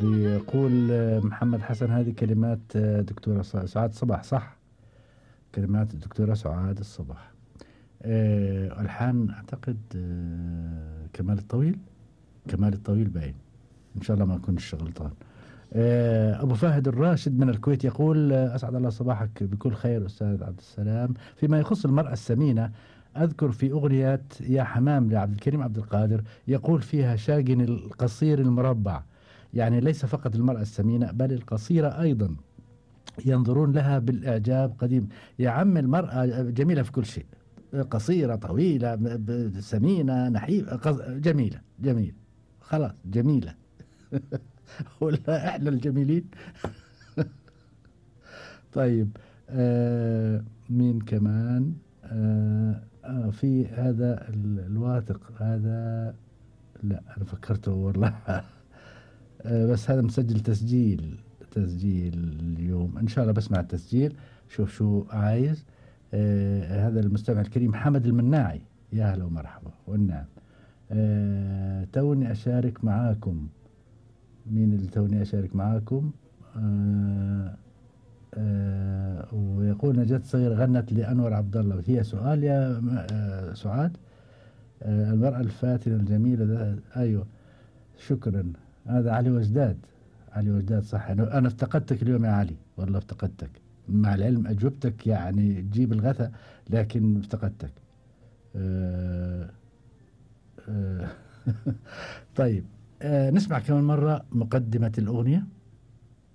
بيقول محمد حسن هذه كلمات دكتورة سعاد صباح، صح؟ كلمات الدكتورة سعاد الصباح. ألحان أعتقد كمال الطويل. كمال الطويل باين، إن شاء الله ما أكونش غلطان. أبو فهد الراشد من الكويت يقول أسعد الله صباحك بكل خير أستاذ عبد السلام. فيما يخص المرأة السمينة، أذكر في أغنية يا حمام لعبد الكريم عبد القادر يقول فيها شاقن القصير المربع، يعني ليس فقط المرأة السمينة بل القصيرة أيضا ينظرون لها بالإعجاب قديم. يا عم المرأة جميلة في كل شيء، قصيرة طويلة سمينة نحيفة جميلة جميلة، خلاص جميلة. ولا احنا الجميلين. طيب مين كمان؟ في هذا الواثق هذا، لا انا فكرته والله. بس هذا مسجل تسجيل اليوم، ان شاء الله بسمع التسجيل شوف شو عايز. هذا المستمع الكريم حمد المناعي، يا اهلا ومرحبا والنعم. توني اشارك معاكم. مين اللي توني أشارك معاكم؟ ويقول نجاة صغير غنت لأنور عبد الله. هي سؤال يا سعاد؟ المرأة الفاتنة الجميلة ده، أيوة شكرا. هذا علي وجداد. علي وجداد صح. أنا افتقدتك اليوم يا علي، والله افتقدتك، مع العلم أجوبتك يعني تجيب الغثى، لكن افتقدتك. طيب نسمع كمان مرة مقدمة الأغنية.